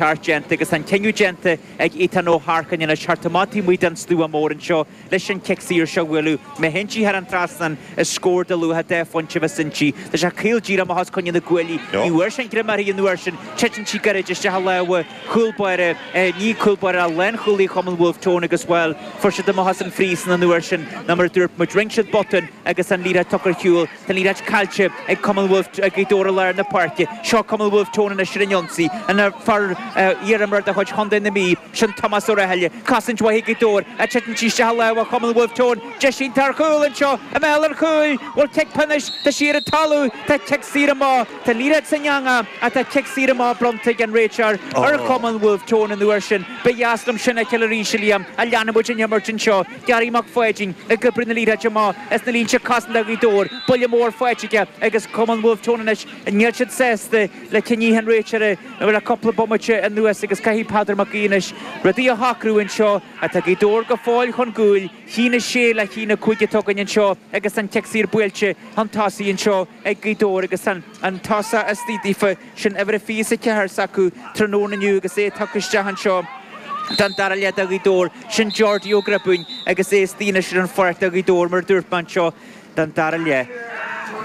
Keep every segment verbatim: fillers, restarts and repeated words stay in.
Ceart déanta agus an cinneadh déanta ag Ethan Ó hEarcáin anois thart amach taobh amuigh den stua mór anseo leis an chic saor seo a bhualadh. Má théann sí thar an trasnán is scór de luach deich phointe a bheas inti. Tá sé caol díreach amach os coinne na gcuaillí. Ní bhfuair sé an greim uirthi an uair sin. Titeann sí gairid isteach i lámha chúl báire, ní cúl báire ach lánchúlaí Chumann Bhulf Tón agus, bhuel, fuair siad amach as an phríosún an uair sin nó mar a dúirt muid, rinne siad botún agus an liathróid tugtha ar shiúl. Tá an liathróid caillte ag Cumann Bhulf, ag Gaoth Dobhair i lár na páirce. Seo Cumann Bhulf Tón anois ar an ionsaí. An fear iarimreoir de chuid Chontae na Mí, sin Tomás Ó Rathaille. Cosaint mhaith ag Gaoth Dobhair ach titeann sí isteach i lámha Chumann Bhulf Tón. Deis iontach ar chúl anseo i mbéal an chúil. Bhfuil cic pionóis? Tá sí ar an talamh. Tá cic saor amach. Tá an liathróid san eangach ach tá cic saor amach bronnta ag an réiteoir ar Chumann Bhulf Tón an uair sin. Ba dheas liom sin a fheiceáil arís, a Liam, ach leanfaidh muid an imirt anseo. Gary Mac Pháidín ag oibriú na liathróide amach as na línte cosanta Ghaoth Dobhair. Buille mór faighte aige agus Cumann Bhulf Tón anois, níl siad sásta le cinneadh an réiteora le cúpla bomaite anuas agus caithfidh Peadar Mac Aoidh anois rudaí a shocrú anseo. Tá Gaoth Dobhair go fóill chun cúil, a haon a sé le haon a cúig atá againn anseo agus an cic saor buailte chun tosaigh anseo ag Gaoth Dobhair agus an tosach istigh daofa, sin uimhir a fiche is a ceathair s'acu tráthnóna inniu agus é tugtha isteach anseo. Don dara leath do Ghaoth Dobhair, sin Geordie Ó Griobúin agus é istigh anois ar an pháirc do Ghaoth Dobhair mar a dúirt mé anseo don dara leath.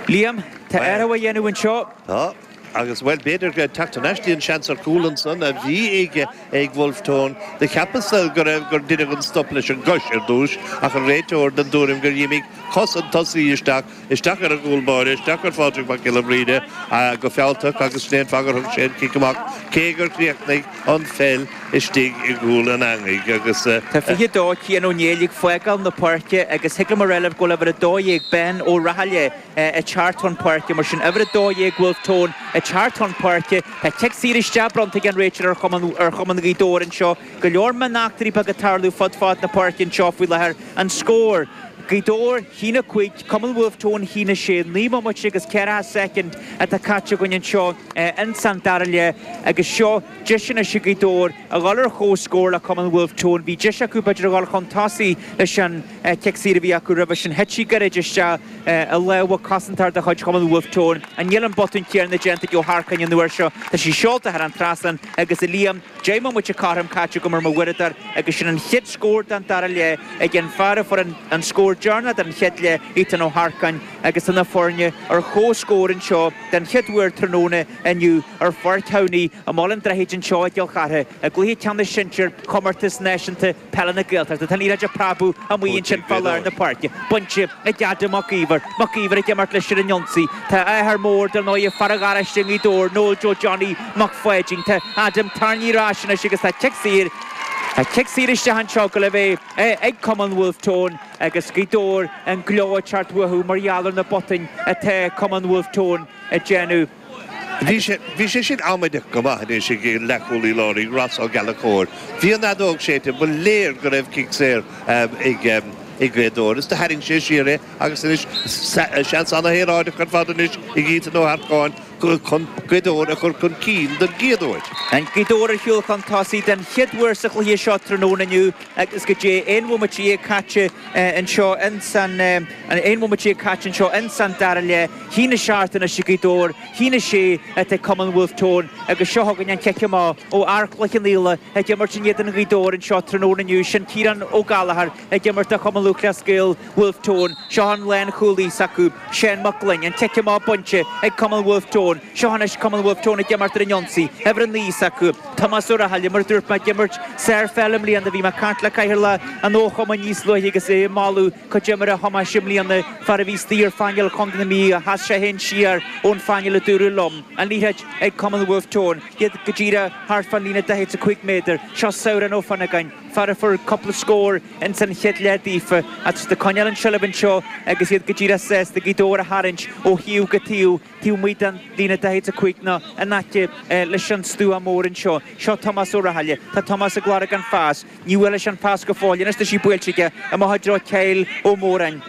Liam, tá athrú á dhéanamh anseo. Tá, agus bhuel, b'fhéidir go teacht thar n-ais dtí an seans ar chúl ansan a bhí ag ag Bhulf Tón. Do cheapas-sa go raibh gur deineadh an stop leis an gcois ar dtúis ach an réiteoir den tuairim gur dh'imigh cos an tosaí isteach, isteach ar an gcúl báire, isteach ar Phádraig Mac Giolla Bhríde go fealltach agus sin é an fáth gur thug sé an cic amach cé gur chríochnaigh an pheil istigh i gcúl an eangaigh agus. Tá fiche dó Cian Ó Néill ag fágáil na páirce agus thig liom a rá libh go bhfuil uimhir a dó dhéag Ben Ó Rathaille ag teacht chun páirce. Mar sin uimhir a dó dhéag Bhulf Tón ag teacht chun páirce. Tá cic saor isteach bronnta ag an réiteoir ar chumann ar chumann Ghaoth Dobhair anseo. Go leor mioneachtraí beaga ag tarlú fud fad na páirce anseo faoi láthair. An scór. Gaoth Dobhair, a haon a cúig, Cumann Bhulf Tón, a haon a sé, naoi mbomaite agus ceathracha soicind atá caite againn anseo ins an dara leath agus seo deis anois ag Gaoth Dobhair a dhul ar chomhscór le Cumann Bhulf Tón. Bhí deis acu b'fhéidir a dhul chun tosaigh leis an chic saor a bhí acu roimhe sin. Thit sí gairid isteach i lámha cosantóir de chuid Chumann Bhulf Tón. Níl an botún céanna déanta ag Ó hEarcáin an uair seo. Tá sí seolta thar an trasnán agus a Liam, Deich mbomaite cothrom caite agam ar mo uaireadóir agus sin an chéad scór den dara leath ag an fear a fuair an scór deireanach den chéad leath, Ethan Ó hEarcáin, agus tá na foirne ar comhscór anseo den chéad uair tráthnóna inniu ar Pháirc Thamhnaigh i mBaile an Droichid anseo i gCill Chartha i gcluiche ceannais sinsir Chomórtas Náisiúnta Peile na Gaeltachta. Tá an liathróid ag preabadh amuigh ansin fá lár na páirce. Bainte ag Adam Mac Íomhair. Mac Íomhair ag imirt leis ar an ionsaí. Tá a athair mór, dar ndóigh, fear an gharáiste i nGaoth Dobhair, Noel Joe Johnny Mac Pháidín. Tá Adam tarraingthe ar ais anois agus tá cic saor, tá cic saor isteach anseo go le bheith ag Cumann Bhulf Tón agus Gaoth Dobhair an gleo ag teacht uathu mar gheall ar na botúin atá Cumann Bhulf Tón ag déanamh. Bhí sé, bhí sé sin amaideach go maith anois ag an leathchúlaí láir, Ross Ó Gallchóir. Bhí an fheadóg séidte, ba léir go raibh cic saor ag ag Gaoth Dobhair is do tharraing sé siar é agus anois seans ana-shaoráideach ar fad anois ag Ethan Ó hEarcáin chun Gaoth Dobhair a chur chun cinn don gcéad uair. An Gaoth Dobhair ar shiúl chun tosaigh den chéad uair sa chluiche seo tráthnóna inniu agus goidé aon bhomaite déag caite anseo ins an aon bhomaite déag caite anseo ins an dara leath. A haon a seacht anois ag Gaoth Dobhair, a haon a sé atá ag Cumann Bhulf Tón agus seo chugainn an cic amach ó fhear Chloich Cheann Fhaola ag imirt in éadan Ghaoth Dobhair anseo tráthnóna inniu. Sin Ciarán Ó Gallchóir ag imirt do Chumann Lúthchleas Gael Bhulf Tón. Seo an lánchúlaí s'acu, Seán Mac Gloinn. An cic amach bainte ag Cumann Bhulf Tón. Seo anois Cumann Bhulf Tón ag imirt ar an ionsaí. Uimhir a naoi s'acu, Tomás Ó Rathaille, mar a dúirt mé, ag imirt sárpheil i mbliana. Bhí mé ag caint le Cathaoirleach an Fhochumainn níos luaithe agus é ag moladh cuid imeartha Thomáis i mbliana, fear a bhí istigh ar phainéal Chontae na Mí, sheas sé féin siar ón phainéal a dúradh liom. An liathróid ag Cumann Bhulf Tón. Iad go díreach thart fán líne daichead is a cúig méadar. Seo Sabhrán Ó Fionnagáin, fear a fuair cúpla scór ins an chéad leath daofa, ach tá siad ag coinneáil an tseilbh anseo agus iad go díreach sásta Gaoth Dobhair a tharraingt ó thaobh go taobh, taobh amuigh den líne daichead is a cúig nó in aice leis an stua mór anseo. Seo Tomás Ó Rathaille. Tá Tomás ag lorg an phas. Ní bhuailfidh sé an pas go fóill. Anois tá sí buailte aige amach i dtreo Kyle Ó Móráin.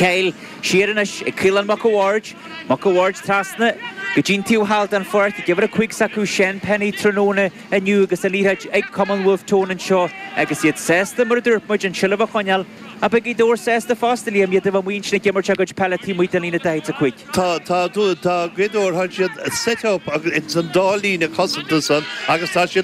Kyle siar anois ag Caolán Mac a' Bhaird, Mac a' Bhaird trasna go dtí'n taobh thall den pháirc ag uimhir a cúig s'acu Shane Penny tráthnóna inniu agus an liathróid ag Cumann Wolfe Tone anseo agus iad sásta mar a dúirt muid an tseilbh a choinneáil a beidh Gaoth Dobhair sásta fosta Liam iad a bheith muinsin ag imirt a gcuid peile taobh amuigh den líne daichead a cúig. Tá tá tá Gaoth Dobhair tá siad set up agus an dá líne cosanta san agus tá siad